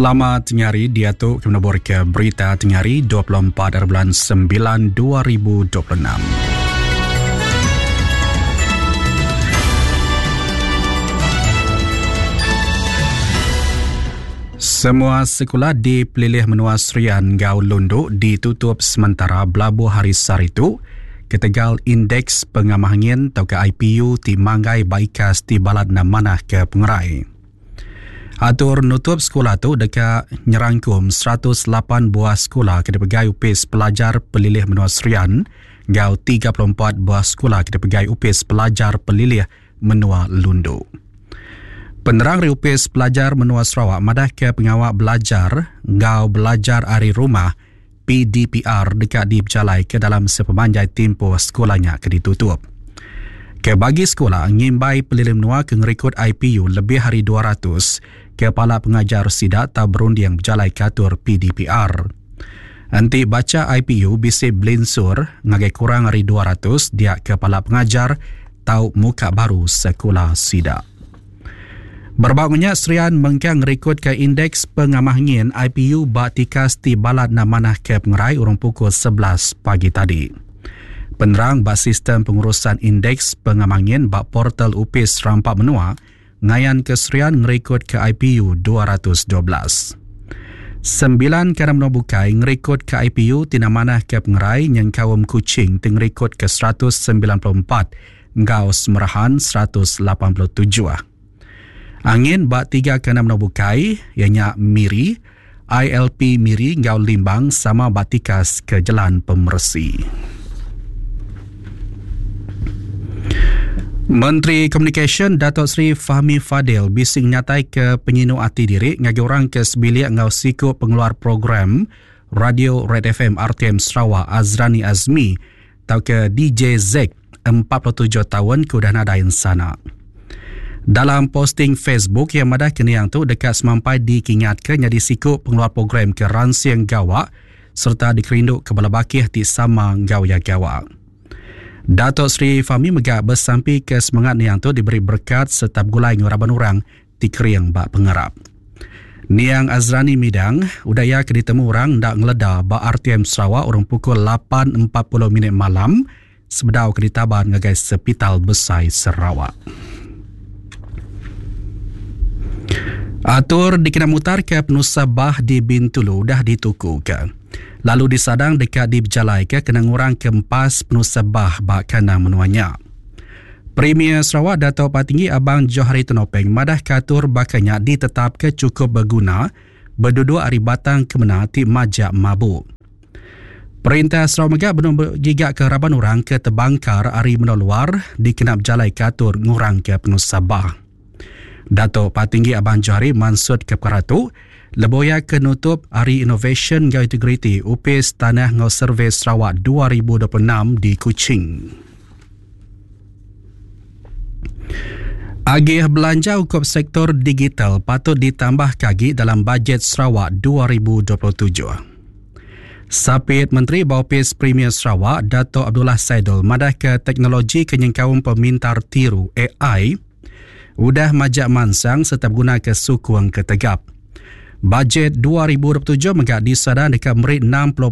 Selamat tengah hari diatu kami nabur ke berita tengah hari 24 hari bulan 9 2026. Semua sekula di pelilih menua Serian enggau Lundu ditutup sementara belabuh hari sehari tu ketegal Indeks Pengamah Angin tauka IPU ti manggai ba ikas ti balat enda manah ke pengerai. Atur nutup sekula tu deka nyerangkum 108 buah sekula ke dipegai Opis Pelajar Pelilih Menua Serian enggau 34 buah sekula ke dipegai Opis Pelajar Pelilih Menua Lundu. Penerang ari Opis Pelajar Menua Sarawak madahka pengawa belajar enggau belajar ari rumah PDPR deka dipejalaika dalam sepemanjai timpuh sekula nya ke ditutup. Ke bagi sekula ngimbai pelilih menua ke ngerikod IPU lebih ari 200, kepala pengajar sida tau berunding bejalaika atur PDPR. Enti bacha IPU bisi belinsur ngagai kurang ari 200 dia kepala pengajar tau muka baru sekula sida. Berebak nya, Serian mengkang ngerikutka Indeks Pengamah Ngin, IPU, ba tikas ti balat enda manah ke pengerai urung pukul 11 pagi tadi. Penerang ba Sistem Pengurusan Indeks Pengamah Ngin ba portal Opis Rampa Menua ngayanka Serian ngerikutka IPU 212. Sembilan kandang menua bukai ngerikutka IPU ti enda manah ke pengerai nyengkaum Kuching ti ngerikutka 194 enggau Semerahan 187. Angin ba tiga kandang menua bukai iya nya Miri, ILP Miri enggau Limbang sama ba tikas ke jelan pemeresi. Menteri Komunikasyen Datuk Seri Fahmi Fadil bisi ngenataika penyinu ati diri ngagai orang ke sebilik enggau siku pengeluar program Radio Red FM RTM Sarawak Azrani Azmi tauka DJ Zack 47 taun ke udah nadai ensana. Dalam posting Facebook iya madah ke niang tu deka semampai dikingatka nyadi siku pengeluar program ke ransing gawa sereta dikerindu ke bala bakih ti sama enggau iya gawa. Dato Sri Fahmi mega besampi ke semengat niang tu diberi berekat sereta begulai enggau raban orang ti kering ba pengarap. Niang Azrani Midang, udah iya ke ditemu orang enda ngeleda ba RTM Sarawak urung pukul 8.40 minit malam sebedau ke ditaban ngagai Sepital Besai Sarawak. Atur dikena mutarka penusah bah di Bintulu udah ditukuka lalu disadang deka dipejalaika kena ngurangka empas penusah bah ba kandang menua nya. Premier Sarawak Datuk Patinggi Abang Johari Tun Openg madahka atur baka nya ditetapka chukup beguna beduduk ari batang kemena ti majak mabuk. Perintah Sarawak mega benung begigaka raban orang ke tebangkar ari menua luar dikena bejalaika atur ngurangka penusah bah. Datuk Patinggi Abang Johari mansutka pekara tu lebuh iya ke nutup Hari Inovasyen enggau Integriti Opis Tanah enggau Survei Sarawak 2026 di Kuching. Agih belanja ungkup sektor digital patut ditambahka agi dalam Bajet Sarawak 2027. Sapit Menteri ba Opis Premier Sarawak, Datuk Abdullah Saidol madahka teknologi ke nyengkaum pemintar tiru, AI, udah majak mansang sereta begunaka sukung ke tegap. Bajet 2027 mega disadang deka meri 60%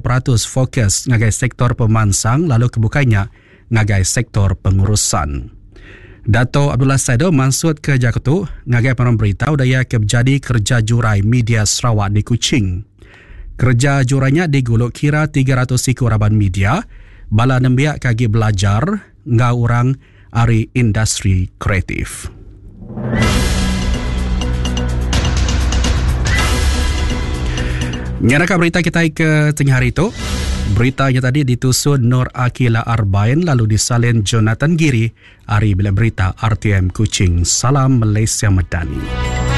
fokus ngagai sektor pemansang lalu ke bukai nya ngagai sektor pengurusan. Dato Abdullah Saido mansutka jaku tu ngagai pengarang berita udah iya ke bejadi kereja jurai media Sarawak di Kuching. Kereja jurai nya digulu kira 300 iku raban media, bala nembiak ke agi belajar enggau orang ari industri kreatif. Nyeraka berita kitai ke tengah hari tu. Berita nya tadi ditusun Nur Akila Arbain lalu disalin Jonathan Giri ari Bilik Berita RTM Kuching. Salam Malaysia Madani.